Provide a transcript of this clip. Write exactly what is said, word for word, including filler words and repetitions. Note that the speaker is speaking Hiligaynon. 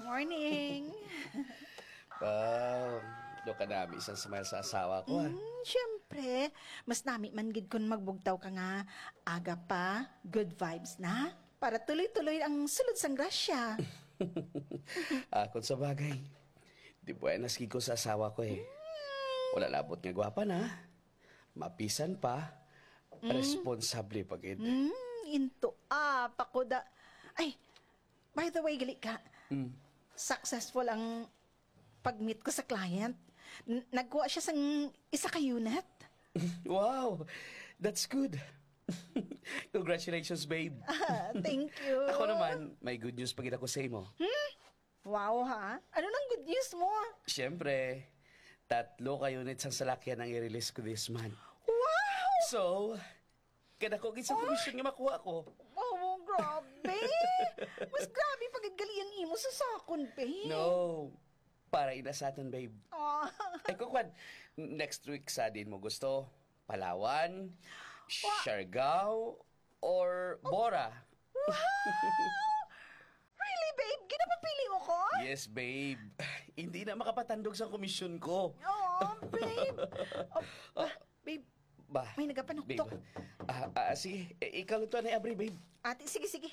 Morning. Ah, do ka nami isang smile sa asawa ko, ah. Mm, syempre, mas nami man gid kun magbugtaw ka nga aga pa, good vibes na. Para tuloy-tuloy ang sulod sang grasya. Ah, kung sa bagay, di buenas gid ko sa asawa ko eh. Wala labot nga gwapa na. Mapisan pa, responsable pa gid. Mm, into apa ko da. Ay, by the way, gali ka. Mm. Successful ang pag-meet ko sa client. N- nagkuha siya sang isa ka unit. Wow, that's good. Congratulations, babe. Ah, thank you. Ako naman, may good news pa gid ako sa imo. Wow, ha? Ano nang good news mo? Siyempre, tatlo ka units ang salakyan ang i-release ko this month. Wow! So, kadako gid sa komisyon nga makuha ko. Oh, grabe! Mas grabe pa gid gali ang imo sa sakon, babe. No, para ina sa aton, babe. Ah. Ay, kukwan, next week sa din mo gusto? Palawan, Siargao, or Bora? Really, babe? Ginapapili mo ko? Yes, babe. Hindi na makapatandog sa komisyon ko. Oh, babe. Oh, ah, babe, Ba? May nagapanuktok. Babe. Ah, ah, sige, eh, ikaw lang to na abri, babe. Ate, sige, sige.